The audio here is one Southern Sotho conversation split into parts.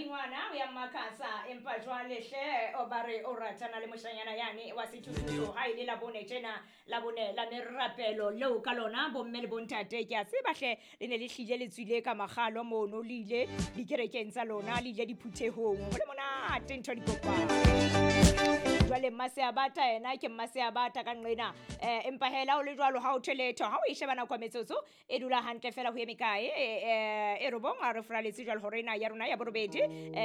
Ngwana o ya mmakatsa, empa jwale hle o ba re o ratana le moshanyana yane wa sethusuthu. Ha e le Labone tjena, Labone la merapelo leo ka lona bomme le bontate, ke a tseba hle le ne le hlile le tswile ka makgalo mono, le ile dikerekeng tsa lona, le ile diphuthehong, ho le monate ntho di kopana. Jwale Mmaseabata yena ke Mmaseabata ka nqena, empa hela o le jwalo ha o thwe letho. Ha o e sheba nako ya metsotso e dula hantle fela ho eme kae, e robong a re furaletse jwale hore ena ya rona ya borobedi,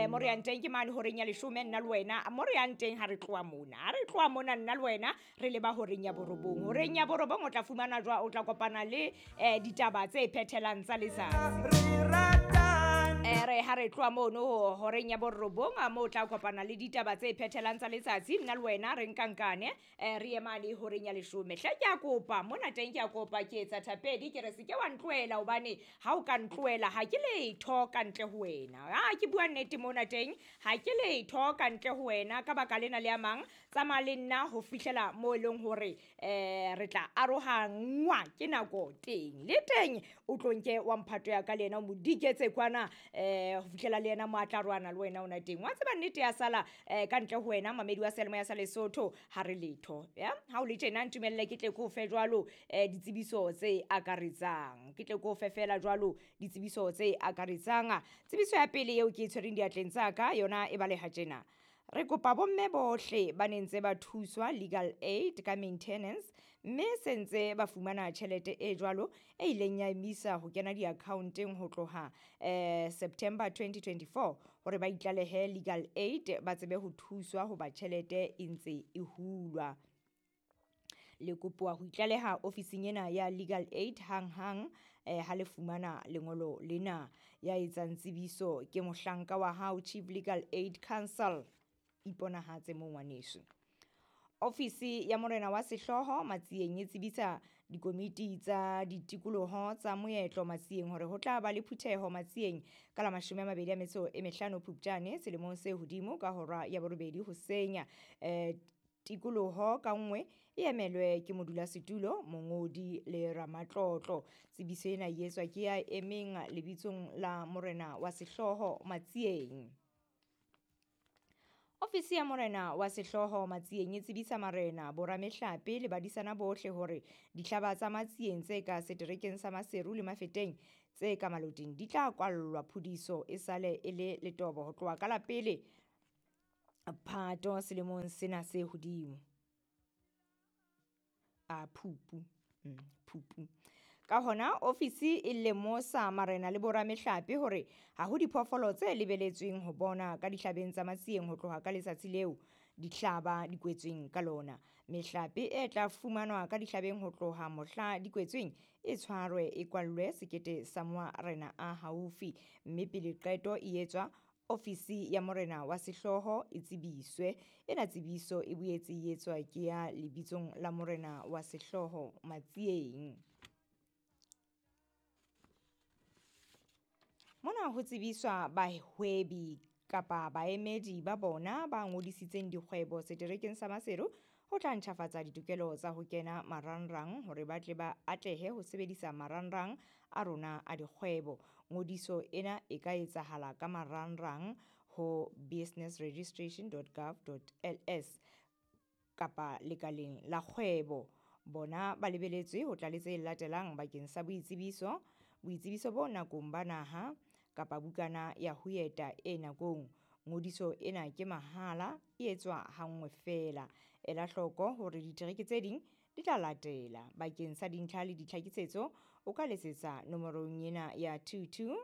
mo re yang teng ke mane horeng ya leshome, nna le wena mo re yang teng. Ha re tloha mona, ha re tloha mona nna le wena re leba horeng ya borobong. Horeng ya borobong o tla fumana jwa, o tla kopana le ditaba tse phethelang tsa letsatsi. Re ha re tloha mono horeng ya borobong, mo o tla kopana le ditaba tse phethelang tsa letsatsi, nna le wena re nkankane, re ye mane horeng ya leshome. Hle ke a kopa mona teng, ke a kopa, ke etsa thapedi, ke re se ke wa ntlohela, hobane ha o ka ntlohela ha ke letho ka ntle ho wena. A ke bua nnete mona teng, ha ke letho ka ntle ho wena. Ka baka lena le a mang, tsamaya le nna ho fihlela mo e leng hore re tla arohangwa ke nako teng. Le teng o tlo nke wa mphato ya ka le yena o mo diketse kwana, ho fihlela le yena mo a tla roana le wena ona teng. Wa tseba nnete ya sala, ka ntle ho wena mamedi wa seyalemoya sa Lesotho ha re letho. Ya ha o le tjena, ntumelle ke tle ke o fe jwalo ditsebiso tse akaretsang, ke tle ke o fe fela jwalo ditsebiso tse akaretsang. Tsebiso ya pele eo ke e tshwereng diatleng tsa ka yona e baleha tjena: re kopa bomme bohle ba ne ntse ba thuswa legal aid ka maintenance, mme se ntse ba fumana tjhelete e jwalo e ileng ya emisa ho kena di-accounteng ho tloha September 2024, hore ba itlalehe legal aid ba tsebe ho thuswa hoba tjhelete e ntse e hulwa. Le kopuwa ho itlaleha ofising ena ya legal aid hang-hang, ha le fumana lengolo lena. Ya etsang tsebiso ke mohlanka wa hao, Chief Legal Aid Council. Iponahatse mo ngwaneso. Ofisi ya morena wa sehlooho Matsieng e tsebisa dikomiti tsa ditikoloho tsa moetlo Matsieng hore ho tla ba le phutheho Matsieng ka la 25 Phupjane selemong se hodimo ka hora ya borobedi hoseng. Tikoloho ka nngwe e emelwe ke modulasetulo, mongodi le ramatlotlo. Tsebiso ena e etswa ke ya emeng lebitsong la morena wa sehlooho Matsieng. Ofisi ya morena wa sehlooho Matsieng e tsebisa marena, boramehlape le badisana bohle hore dihlaba tsa Matsieng tse ka seterekeng sa Maseru le Mafeteng tse ka Maloting di tla kwallwa phudiso e sale e le letobo ho tloha ka la pele Phato selemong sena se hodimo. A Phupu, Phupu. Ka hona ofisi e lemosa marena le boramehlape hore ha ho diphoofolo tse lebeletsweng ho bona ka dihlabeng tsa Matsieng ho tloha ka letsatsi leo dihlaba di kwetsweng ka lona. Mehlape e tla fumanwa ka dihlabeng ho tloha mohla di kwetsweng e tshwarwe e kwallwe sekete sa marena a haufi, mme pele qeto e etswa ofisi ya morena wa sehlooho e tsebiswe. Ena tsebiso e boetse e etswa ke ya lebitsong la morena wa sehlooho Matsieng. Mona ho tsebiswa bahwebi kapa baemedi ba bona ba ngodisitseng dikgwebo seterekeng sa Maseru ho tla ntjhafatsa ditokelo tsa ho kena marangrang hore ba tle ba atlehe ho sebedisa marangrang a rona a dikgwebo. Ngodiso ena e ka etsahala ka marangrang ho businessregistration.gov.ls kapa lekaleng la kgwebo. Bona ba lebeletswe ho tla le tse latelang bakeng sa boitsebiso, boitsebiso bo nakong ba naha kapa bukana ya ho eta e nakong. Ngodiso ena ke mahala, e etswa hanngwe feela. Ela hloko hore ditereke tse ding di tla latela. Bakeng sa dintlha le ditlhakisetso o ka letsetsa nomorong ena ya 22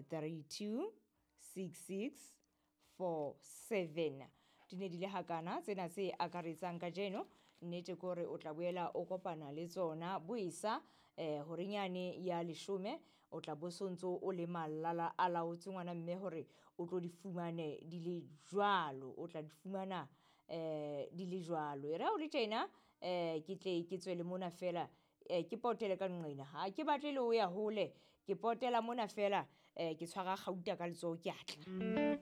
32 66 47. Di ne di le hakana tsena tse akaretsang kajeno. Nnete ke hore o tla boela o kopana le tsona boesa, horeng yane ya leshome o tla bo sontso o le malala a laotse ngwana mme hore o tlo di fumane di le jwalo, o tla di fumana di le jwalo. E re ha o le tjena, ke tle ke tswele mona fela, ke potele ka nqena, ha ke batle le ho ya hole, ke potela mona fela, ke tshwara kgauta ka letsoho ke atla.